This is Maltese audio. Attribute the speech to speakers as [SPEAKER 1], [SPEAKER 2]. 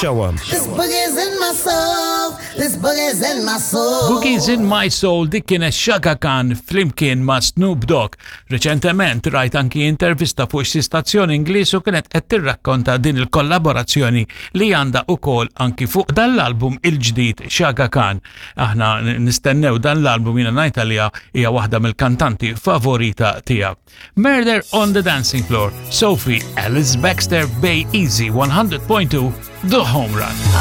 [SPEAKER 1] Show 'em.
[SPEAKER 2] This boogie's in my soul. This boogie's in my soul.
[SPEAKER 3] Boogies in My Soul dik kienet Chaka Khan flimkien ma' Snoop Dogg. Reċentement rajt anki intervista fuq xi stazzjon Ingliż u kienet qed tirrakkonta din il-kollaborazzjoni li għandha ukoll anki fuq dan l-album il-ġdid Chaka Khan. Aħna nistennew dan l-album jiena ngħid għaliha hija waħda mill-kantanti favorita tiegħek. Murder on the Dancing Floor, Sophie Alice Baxter Bay Easy 100.2 The Home Run.